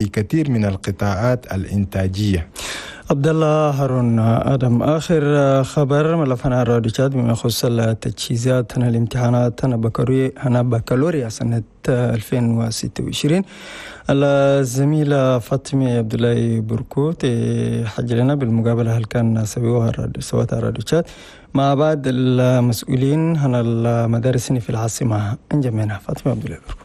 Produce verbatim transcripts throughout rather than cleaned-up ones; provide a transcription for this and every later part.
في كثير من القطاعات الإنتاجية. عبد الله هارون ادم، اخر خبر ملفنا راديو تشاد بما يخص التجهيزات هنا الامتحانات هنا بكالوريا هنا بكالوريا سنة ألفين وستة وعشرين. الزميلة فاطمة عبد الله بركوت حج لنا بالمقابلة هل كان سووها سوتها راديو تشاد مع بعض المسؤولين هنا المدارس في العاصمة انجمينا. فاطمة عبد الله بركوت.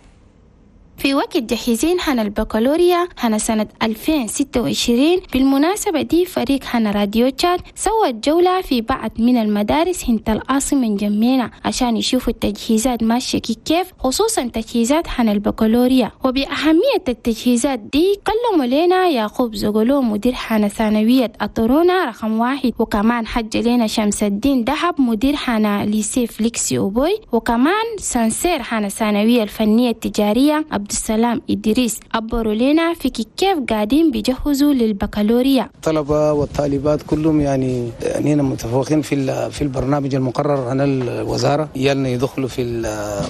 في وقت جاهزين هنا البكالوريا هنا سنة ألفين وستة وعشرين. بالمناسبة دي فريق هنا راديو تشاد سوى جولة في بعض من المدارس هنت العاصمة انجمينا عشان يشوفوا التجهيزات ماشية كيف، خصوصا تجهيزات هنا البكالوريا. وبأهمية التجهيزات دي كلموا لنا يعقوب زغلو، مدير هنا ثانوية أطرونا رقم واحد، وكمان حج لنا شمس الدين دهب، مدير هنا lycée فليكسي أوبوي، وكمان censeur هنا ثانوية الفنية التجارية عبد السلام إدريس. عبروا لنا في كيف قاعدين بيجهزوا للبكالوريا. الطلبة والطالبات كلهم يعني يعني متفوقين في في البرنامج المقرر عن الوزارة. يالنا يدخلوا في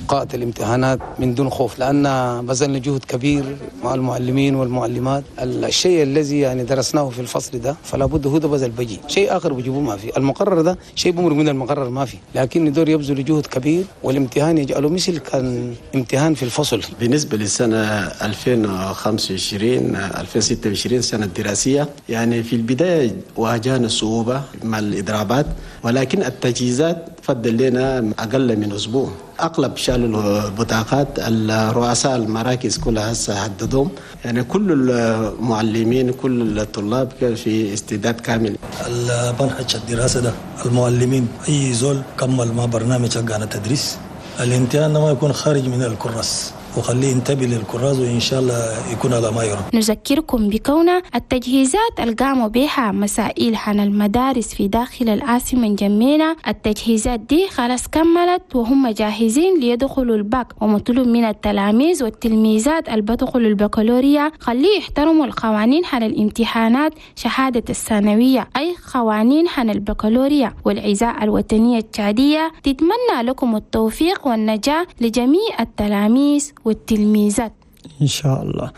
قاعة الامتحانات من دون خوف، لأن بذلنا جهد كبير مع المعلمين والمعلمات. الشيء الذي يعني درسناه في الفصل ده فلا بد هو ده بس البجي، شيء آخر بيجيبوه ما في. المقرر ده شيء بمر من المقرر ما في، لكن ندور يبذل جهد كبير والامتحان يجعله مثل كان امتحان في الفصل. بالنسبة للسنة ألفين وخمسة وعشرين ألفين وستة وعشرين سنة الدراسية، يعني في البداية واجهنا صعوبة مع الإضرابات، ولكن التجهيزات فضل لنا أقل من أسبوع. أغلب شالوا البطاقات، الرؤساء المراكز كلها هسه حددوهم، يعني كل المعلمين، كل الطلاب كان في استعداد كامل. المنهج الدراسة ده المعلمين أي زول كمل ما برنامج حقنا تدريس، الامتحان ما يكون خارج من الكراس، وخليه ينتبه للكراس، وإن شاء الله يكون على ما يرام. نذكركم بكون التجهيزات القاموا بها مسائل عن المدارس في داخل العاصمة انجمينا، التجهيزات دي خلاص كملت وهم جاهزين ليدخلوا الباك. ومطلوب من التلاميذ والتلميذات اللي بدخلوا البكالوريا خليه يحترموا القوانين حال الامتحانات شهادة الثانوية، أي قوانين حن البكالوريا. والإذاعة الوطنية التشادية تتمنى لكم التوفيق والنجاح لجميع التلاميذ والتلميذات. إن شاء الله.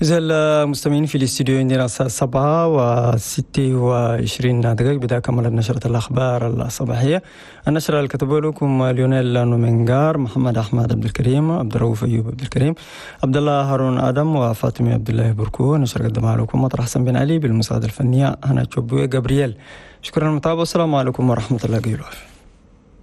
إذا المستمعين في الاستوديو عندنا الساعة سبعة وستة وعشرين دقيقة، بدأ كمل نشرة الأخبار الصباحية. النشرة اللي كتبوا لكم ليونيل نومنغار، محمد أحمد عبد الكريم، عبد الرؤوف أيوب عبد الكريم، عبد الله هارون آدم، وفاطمة عبد الله بركو. نشرة قدمها لكم مطر حسن بن علي بالمساعدة الفنية هنا تشوبوي جابرييل. شكرا للمتابعة والسلام عليكم ورحمة الله وبركاته.